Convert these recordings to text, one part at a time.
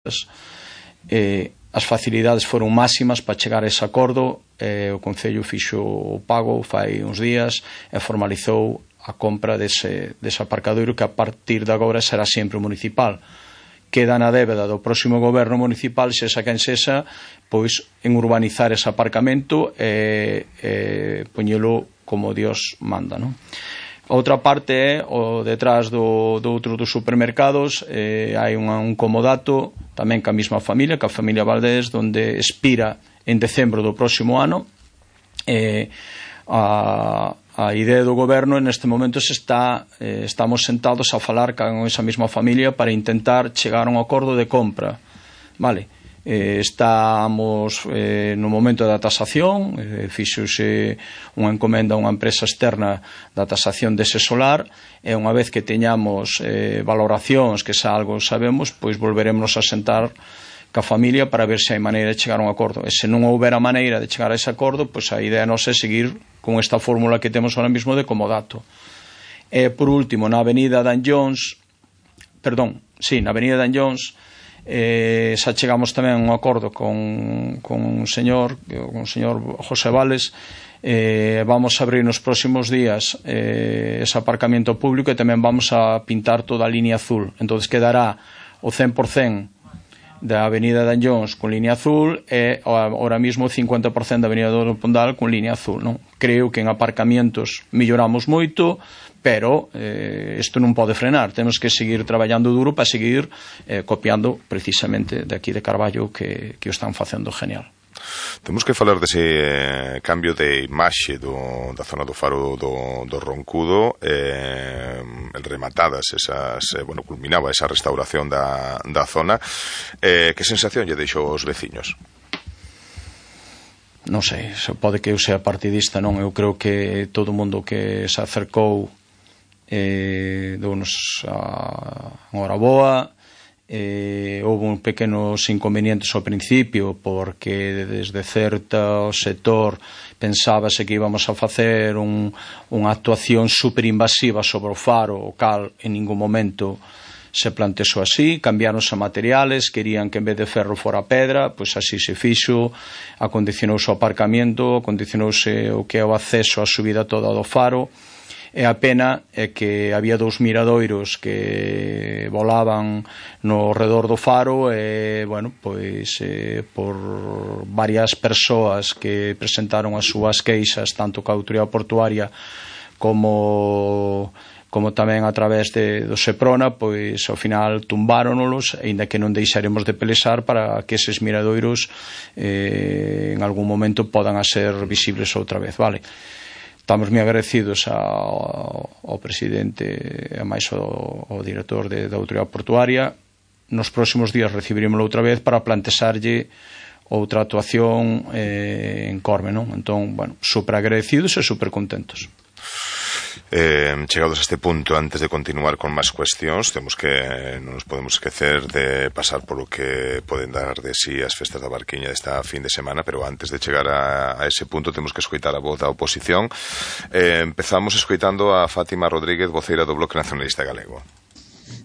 as facilidades foron máximas para chegar a ese acordo. O Concello fixo o pago fai uns días e formalizou a compra dese aparcadoiro, que a partir de agora será sempre municipal. Queda na débeda do próximo goberno municipal, sexa quen sexa, pois en urbanizar ese aparcamento e poñelo como Dios manda, non? A outra parte é o detrás do outro dos supermercados. Hai un comodato tamén ca mesma familia, ca familia Valdés, onde expira en decembro do próximo ano. A idea do goberno neste momento estamos sentados a falar con esa mesma familia para intentar chegar a un acordo de compra, vale? Estamos no momento da tasación. Fixose unha encomenda a unha empresa externa da tasación dese solar, e unha vez que teñamos valoracións, que xa algo sabemos, pois volveremos a sentar ca familia para ver se hai maneira de chegar a un acordo. E se non houbera maneira de chegar a ese acordo, pois a idea nosa é seguir con esta fórmula que temos ahora mismo de comodato. E por último, na avenida d'Anllóns, xa chegamos tamén a un acordo con un señor José Vales. Vamos a abrir nos próximos días ese aparcamento público, e tamén vamos a pintar toda a línea azul. Entonces quedará o 100% da avenida d'Anllóns con línea azul e ahora mismo o 50% da avenida do Pondal con línea azul, non? Creo que en aparcamientos melloramos moito, pero isto non pode frenar. Temos que seguir traballando duro para seguir copiando precisamente de aquí de Carballo, que o están facendo genial. Temos que falar dese cambio de imaxe da zona do Faro do Roncudo. Rematadas culminaba esa restauración da zona. Que sensación lle deixou aos veciños? Non sei, pode que eu sea partidista, non? Eu creo que todo o mundo que se acercou dounos a hora boa. Houve un pequenos inconvenientes ao principio, porque desde certo sector pensábase que íbamos a facer unha actuación superinvasiva sobre o faro, o cal en ningún momento se plantexou así. Cambiáronse materiales, querían que en vez de ferro fora pedra, pois así se fixo. Acondicionouse o aparcamiento, acondicionouse o que é o acceso á subida toda do faro. E a pena é que había dous miradoiros que volaban no redor do faro, e, bueno, pois por varias persoas que presentaron as súas queixas, tanto ca autoridade portuaria como tamén a través do Seprona, pois ao final tumbáronos, aínda que non deixaremos de pelexar para que eses miradoiros en algún momento podan a ser visibles outra vez, vale? Estamos moi agradecidos ao presidente e máis ao director da autoridade portuaria. Nos próximos días recibirímoslo outra vez para plantexarlle outra actuación en Corme, non? Entón, bueno, super agradecidos e super contentos. Chegados a este punto, antes de continuar con máis cuestións, non nos podemos esquecer de pasar por o que poden dar de sí as festas da Barquiña desta fin de semana, pero antes de chegar a ese punto temos que escoitar a voz da oposición. Empezamos escoitando a Fátima Rodríguez, voceira do Bloque Nacionalista Galego.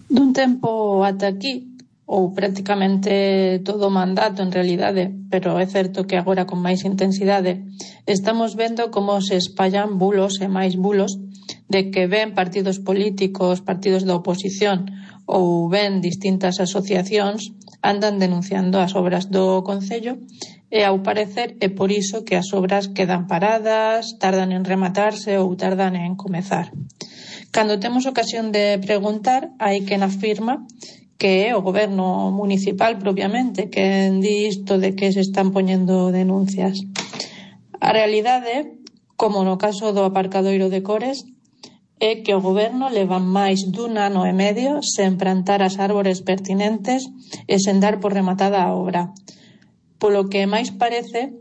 Dun tempo ata aquí, ou prácticamente todo o mandato en realidade, pero é certo que agora con máis intensidade, estamos vendo como se espallan bulos e máis bulos de que ven partidos políticos, partidos da oposición ou ven distintas asociacións andan denunciando as obras do Concello, e ao parecer é por iso que as obras quedan paradas, tardan en rematarse ou tardan en comezar. Cando temos ocasión de preguntar, hai quen afirma que é o goberno municipal propiamente quen di isto de que se están poñendo denuncias. A realidade, como no caso do aparcadoiro de Cores, é que o goberno leva máis dun ano e medio sen plantar as árbores pertinentes e sen dar por rematada a obra. Polo que máis parece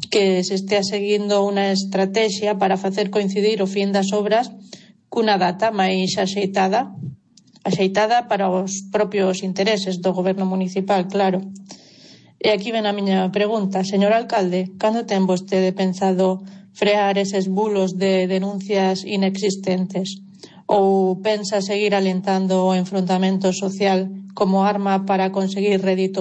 que se estea seguindo unha estrategia para facer coincidir o fin das obras cunha data máis axeitada para os propios intereses do goberno municipal, claro. E aquí ven a miña pregunta. Señor alcalde, cando ten vostede pensado frear eses bulos de denuncias inexistentes? ou pensa seguir alentando o enfrontamento social como arma para conseguir rédito